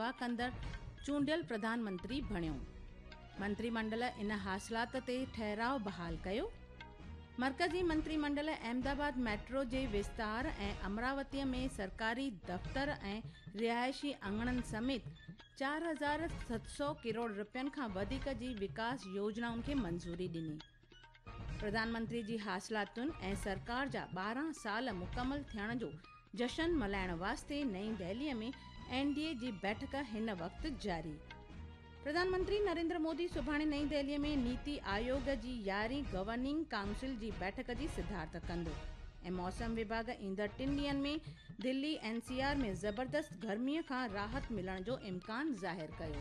شيوا ڪندڙ چونڊيل پرڌان منتري بڻيو. منتري منڊل ان حاصلات تي ٺهراء بحال ڪيو. مرڪزي منتري منڊل احمد آباد ميٽرو جي وستار ۽ امراوتي ۾ سرڪاري دفتر ۽ رهائشي اڱڻن سميت 4700 ڪروڙ رپين کان وڌيڪ جي وڪاس يوجنائن کي منظوري ڏني. پرڌان منتري جي حاصلاتن ۽ سرڪار جا 12 سال مڪمل ٿيڻ جو جشن ملهائڻ واسطي نئين دهلي ۾ اين ڊي اي جي بيٺڪ هن وقت جاري. پرڌان منتري نريندر مودي سڀاڻي نئين دهلي ۾ نيتي آيوگ جي يارهين گورننگ ڪائونسل جي بيٺڪ جي صدارت ڪندو ۽ موسم وڀاڳ ايندڙ ٽن ڏينهن ۾ دلي اين سي آر ۾ زبردست گرمي کان راحت ملڻ جو امڪان ظاهر ڪيو.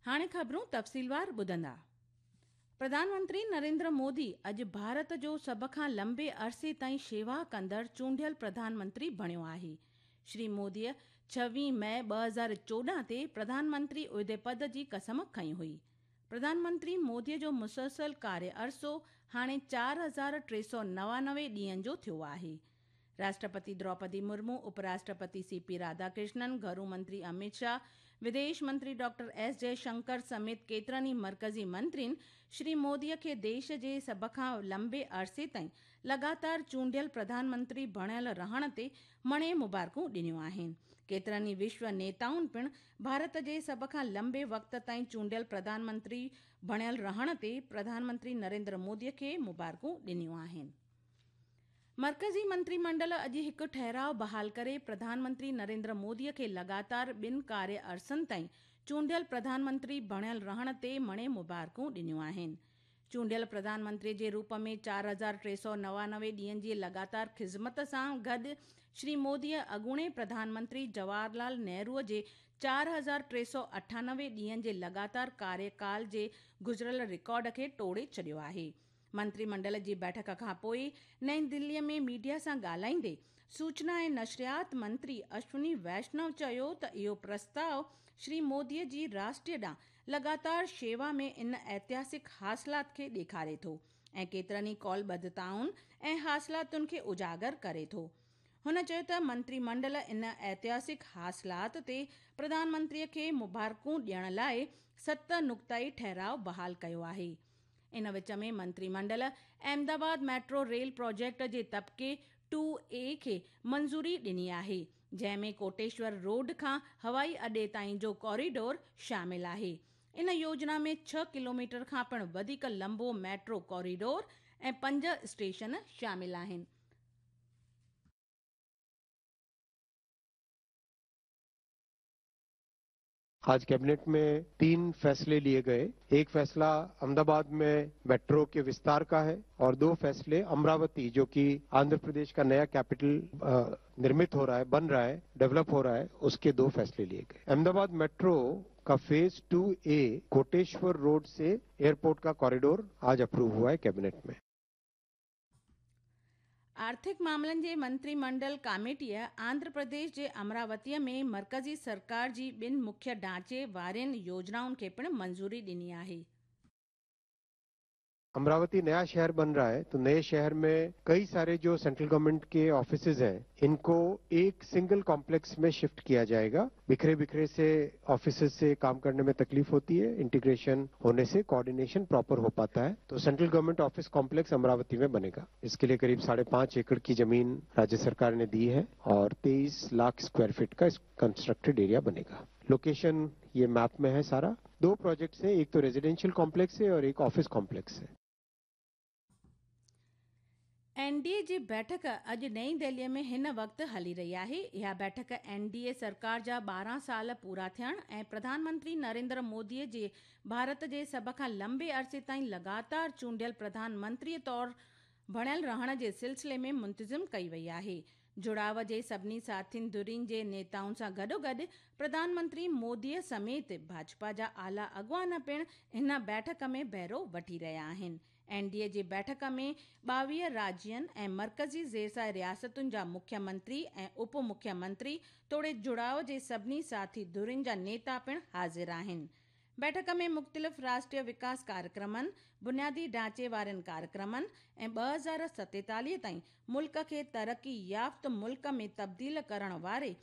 هاڻي خبرون تفصيلوار ٻڌندا. پرڌان منتري نريندر مودي اڄ ڀارت جو سڀ کان لنبي عرصي تائين شيوا ڪندڙ چونڊيل پرڌان منتري بڻيو آهي. شري موديء ڇويهه مئي 2014 تي پرڌان منتري عهدي پد جي قسم کنئي هئي. پرڌان منتري موديء جو مسلسل ڪاري عرصو هاڻي 4399 ڏينهن جو ٿيو آهي. راشٽرپتي دروپدي مرمو، اپ راشٽرپتي سي پي راڌاڪرشنن، گهرو منتري اميت شاهه، وديش منتري ڊاڪٽر ايس جئه شنڪر سميت ڪيترن ئي مرڪزي منترين شري مودي کي ديش جي سڀ کان لنبي عرصي تائين لڳاتار چونڊيل پرڌان منتري بڻيل رهڻ تي مڻي مبارڪون ڏنيون آهن. ڪيترن ئي وشو نيتائن پڻ ڀارت جي سڀ کان لنبي وقت تائين چونڊيل پرڌان منتري بڻيل رهڻ تي پرڌان منتري نريندر مودي کي مبارڪون ڏنيون آهن. مرڪزي منتري منڊل اڄ هڪ ٺهراء بحال ڪري پرڌان منتري نريندر مودي کي لڳاتار ٻن ڪاري عرصن تائين چونڊيل پرڌان منتري بڻيل رهڻ تي مڻي مبارڪون ڏنيون آهن. چونڊيل پرڌان منتري جي روپ ۾ 4399 ڏينهن جي لڳاتار خذمت سان گڏ شري مودي اڳوڻي پرڌان منتري جواهر لال نهرو جي 4398 ڏينهن جي لڳاتار ڪاريڪال جي گذريل رڪارڊ کي ٽوڙي ڇڏيو آهي. منتري منڊل جي بيٺڪ کان پوء نئين دهلي ۾ ميڊيا سان ڳالهائيندي سوچنا ۽ نشريات منتري اشوني ويشنو چيو ته اهو پرستاء شري مودي جي راشٽر ڏانهن لڳاتار شيوا ۾ ان ائتهاسڪ حاصلات کي ڏيکاري ٿو ۽ ڪيترن ئي قولبڌتائن ۽ حاصلاتن کي اجاگر ڪري ٿو. هن چيو ته منتري منڊل ان ائتهاسڪ حاصلات تي پرڌان منتري کي مبارڪون ڏيڻ لاء ست نقطائي ٺهراء بحال ڪيو آهي. ان وچ ۾ منتري منڊل احمد آباد ميٽرو ريل پراجيڪٽ جي طبقي ٽو اي کي منظوري ڏني آهي، جنهن ۾ ڪوٽيشور روڊ کان هوائي اڏي تائين جو ڪوريڊور شامل آهي. ان يوجنا ۾ ڇهه ڪلوميٽر کان پڻ وڌيڪ لنبو ميٽرو ڪوريڊور ۽ پنج اسٽيشن شامل آهن. आज कैबिनेट में 3 फैसले लिए गए। एक फैसला अहमदाबाद में मेट्रो के विस्तार का है और 2 फैसले अमरावती, जो कि आंध्र प्रदेश का नया कैपिटल निर्मित हो रहा है, बन रहा है, डेवलप हो रहा है, उसके 2 फैसले लिए गए। अहमदाबाद मेट्रो का फेज 2A Koteshwar road से एयरपोर्ट का कॉरिडोर आज अप्रूव हुआ है कैबिनेट में। آرٿڪ معاملن جي منتري منڊل ڪاميٽيء آنڌر پرديش جي امراوتيء ۾ مرڪزي سرڪار جي ٻن مکيه ڍانچي وارين يوجنائن کي پڻ منظوري ڏني آهي. अमरावती नया शहर बन रहा है तो नए शहर में कई सारे जो सेंट्रल गवर्नमेंट के ऑफिसेज हैं इनको एक सिंगल कॉम्प्लेक्स में शिफ्ट किया जाएगा। बिखरे बिखरे से ऑफिसेज से काम करने में तकलीफ होती है, इंटीग्रेशन होने से कोऑर्डिनेशन प्रॉपर हो पाता है। तो central government office complex Amravati में बनेगा। इसके लिए करीब 5.5 एकड़ की जमीन राज्य सरकार ने दी है और 23 लाख स्क्वायर फीट का कंस्ट्रक्टेड एरिया बनेगा। लोकेशन ये मैप में है सारा। 2 प्रोजेक्ट्स हैं, एक तो रेजिडेंशियल कॉम्प्लेक्स है और एक ऑफिस कॉम्प्लेक्स है। एन डी ए जी बैठक अॼु नई दिल्लीअ में हिन वक़्तु हली रही आहे। इहा बैठक एन डी ए सरकार जा 12 साल पूरा थियण ऐं प्रधानमंत्री नरेंद्र मोदीअ जे भारत जे सभ खां लंबे अरसे ताईं लगातार चूंडियल प्रधानमंत्रीअ तौर बणियल रहण जे सिलसिले में मुंतज़िम कई वई आहे। जुड़ाव जे सभिनी साथियुनि धुरियुनि जे नेताउनि सां गॾोगॾु प्रधानमंत्री मोदीअ समेत भाजपा जा आला अॻुवान पिणु हिन बैठक में बहिरो वठी रहिया आहिनि। एन डी ए जी बैठक में 22 राज्यनि ऐं मर्कज़ी ज़ेरसाए रियासतुनि जा मुख्यमंत्री ऐं उप मुख्यमंत्री तोड़े जुड़ाव जे सभिनी साथी धुरियुनि जा नेता पिणु हाज़िर आहिनि। बैठक में मुख़्तलिफ़ राष्ट्रीय विकास कार्यक्रमनि, बुनियादी ढांचे वारनि कार्यक्रमनि ऐं 2047 ताईं मुल्क खे तरक़ी याफ़्त मुल्क में तब्दील करण वारे